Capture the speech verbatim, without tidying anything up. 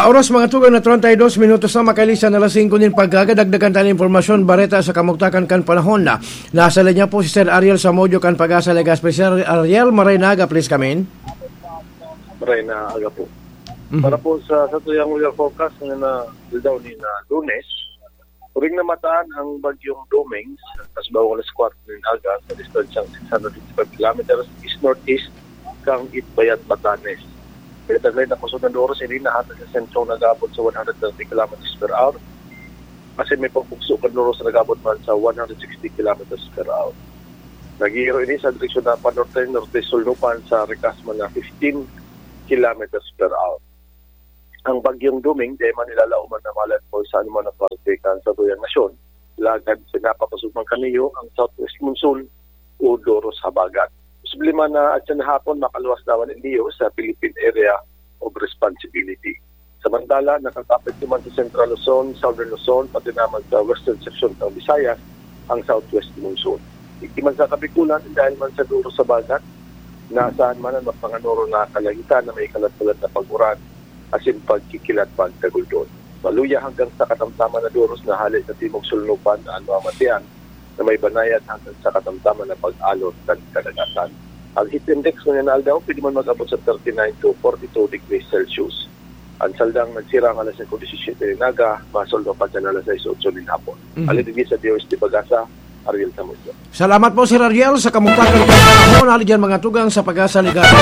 Oras, mga tugang, na treinta y dos minutos na makailisan na alas singko nin pagkakadagdagan tayo ng impormasyon, bareta sa kamugtakan kan panahon na. Nasa linya po si Sir Ariel Samudio kan Pag-asa Legazpi. Sir Ariel, maray na aga, please come in. Maray na aga po. Mhm. Para po sa, sa tuyang weather forecast na, na daw ni na Lunes, uring na mataan ang bagyong Domingos, tas bawang alas kwatro nin aga, sa distansyang six hundred fifty-five kilometers east-northeast, kang Itbayat, Batanes. Kaya taglay na kusog na doros, ini nahatag sa sentrong nag-aabot sa one hundred thirty kilometers per hour, kasi may pagbugso kan doros na nag-aabot man sa one hundred sixty kilometers per hour. Nagihiro ini sa direksyon na panorte, norte, sulnupan sa rikas man na fifteen kilometers per hour. Ang bagyong Doming, di man nilalaoman na malandfall sa anuman na parte kan satuyang nasyon. Lagad, sinapapasok man kaniyo ang southwest monsoon o doros habagat. Posible man na atyan hapon makaluwas naman iniyo sa Philippine Area of Responsibility. Samantala, nakakapit naman sa Central Luzon, Southern Luzon, pati naman sa western section ng Visayas, ang southwest monsoon. Iti man sa Kabikulan, dahil man sa doros habagat, nasaan man ang mapanganoro na kalangitan na may kalat-kalat na pag-uran, asin pagkikilat pagkaguldon. Maluya hanggang sa katamtaman na doros na hale sa timog sulnupan na ano ang matian na may banayad hanggang sa katamtaman na pag-alon kan kadagatan. Ang heat index ngunyan na aldaw pwede man mag-abot sa thirty-nine to forty-two degrees Celsius. Ang saldang nagsirang alas singko disisiyete nin aga, masulnupan sa alas sais otso nin hapon. Mhm. Alin digdi sa D O S T Pag-asa, Ariel Samudio. Salamat po, Sir Ariel, sa kamugtakan kan panahon. Hali dyan, mga tugang, sa Pag-asa Legazpi.